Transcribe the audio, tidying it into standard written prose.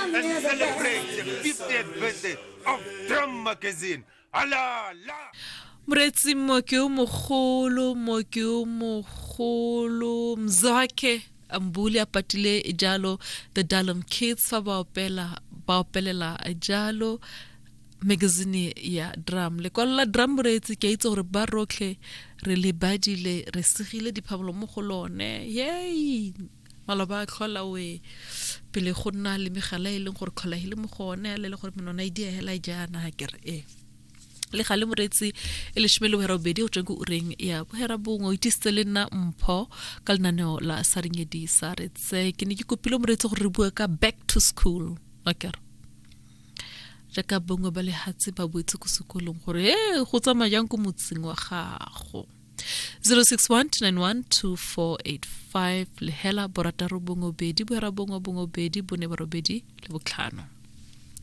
and celebrate the 50th birthday of Drum Magazine. Ala la! Moreetsi mooki o mogolo, mooki o mogolo Mzwakhe Mbuli a patile jalo The Dalom Kids fa ba opela ba opelela jalo magazine ya Drum. Lekwalo la Drum moreetsi ke a itse gore ba rotlhe re le badile re segile diphabolo mo go lone. Yay! Maloba a tlhola we pele go nna le megala e leng gore tlhola e le mo go one le le gore menona e dia hela jaana ke re e le gale moreetsi e leshome le boherabobedi go tsweng ko ureng ya boherabongwe o itisitse le nna mpho ka lenaneo la saringedi sa re tse ke ne ke kopile moreetsi gore re bue ka back to school akere jaaka bongwe ba lehatse ba boetse ko sekolong gore e go tsamaya jang ko motseng wa gago 0612912485 lehela borataro bongwe bedi bohera bongwe bongwe bedi bone borobedi le botlhano.